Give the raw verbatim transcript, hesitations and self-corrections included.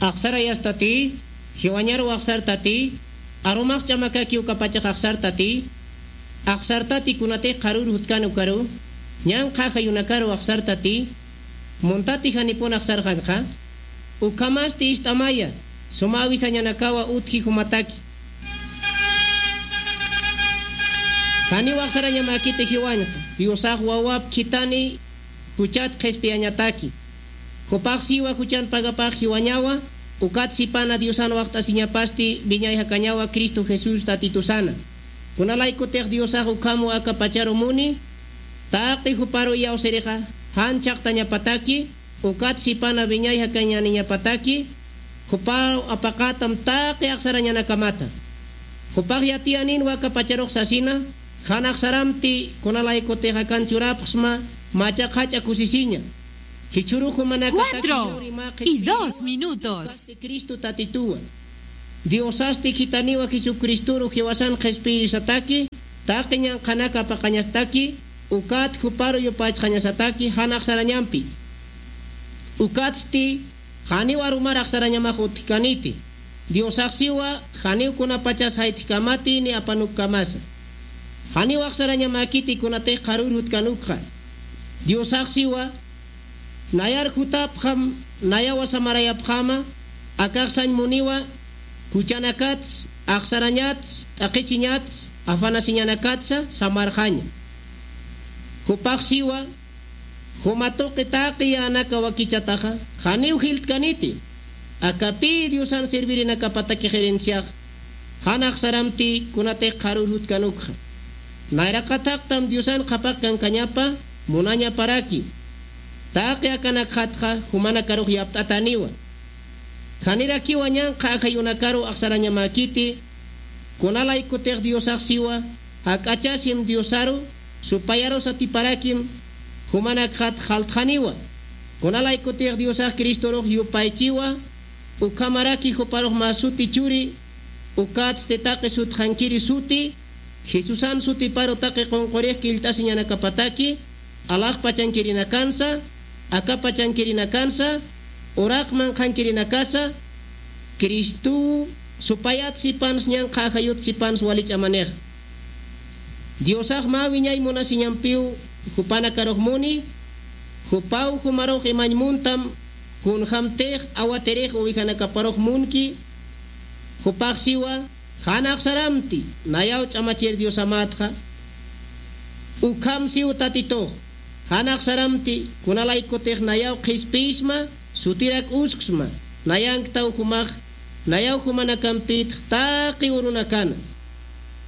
Aqsarayastati, jiwañaru aqsartati, arumax ch'amakaki ukapachax aqsartati, aqsartati kunatix qharür jutkan ukaru, ñanqha ajayunakaru aqsartati, muntati janipun aqsarxanxa, ukhamasti ist'amaya, suma awisañanakawa utji jumataki. Janiw aqsarañamäkiti jiwañxa, Diosax wawap khithani juchat qhispiyañataki. Jupax siwa juchan pagapax jiwañawa, ukat sipana Diosan waxt'asiñapasti wiñay jakañawa Cristo Jesús Tatitusana. Kunalaykutix Diosax ukham aka pacharu muni, taqi juparu iyawsirixa, jan chhaqtañapataki, ukat sipana wiñay jakañäniñapataki, jupaw apaqätam taqi aqsarañanakamata. Jupax yatiyaninwa aka pacharux sasina, jan aqsaramti kunalaykutix akan churapxsma, macha qhach'a kusisiña. Jichhürux jumanakataki Cuatro y dos minutos. Cristo Tatituwa. Diosasti khithaniwa Jesucristoru jiwasan qhispiyirisataki, taqi ñanqhanaka apaqañasataki, ukat juparu yupaychxañasataki, jan aqsarañampi. Ukatsti, janiw arumar aqsarañamax utjkaniti. Diosax siwa, janiw kunapachas jaytjkamati ni apanukkamasa. Janiw aqsarañamäkiti kunatix qharür jutkanukxa. Diosax siwa, nayar jutapxam, nayawa samarayapxäma, akax sañ muniwa, juchanakats, aqsarañats, t'aqhichiñats, afanasiñanakatsa, samarxaña. Jupax siwa, juma tuqi taqi yänaka wakichataxa, janiw jiltkaniti. Akapï Diosan servirinakapatakix herenciax, jan aqsaramti kunatix qharür jutkanukxa. Nayraqat thaqtam Diosan qhapaq kankañapa, munañaparaki. Taqi akanakxatxa, jumanakarux yapt'atäniwa. Janirakiwa ñanqha ajayunakaru aqsarañamäkiti, kunalaykutix Diosax siwa, jak'achasim Diosaru, supayaru satiparakim, jumanakxat jaltxaniwa. Kunalaykutix Diosax Cristorux yupaychiwa, ukhamaraki juparux mä suti churi, ukatsti taqi sutxankiri suti, Jesusan sutiparu taqi qunqurix killt'asiñanakapataki, alaxpachankirinakansa, akapachankirinakansa, uraq manqhankirinakasa, Cristow supayat sipans ñanqha ajayut sipans wali ch'amanix. Diosax mä wiñay munasiñampiw jupanakarux muni, jupaw jumarux imañ muntam, kunjämtix awatirix ovejanakaparux munki, jupax siwa, jan aqsaramti, nayaw ch'amachir Diosamätxa, ukham siw Tatitux, jan aqsaramti, kunalaykutix nayaw qhispiyisma, sutirak usksma, nayanktaw jumax, nayaw jumanakampïtx taqi urunakana.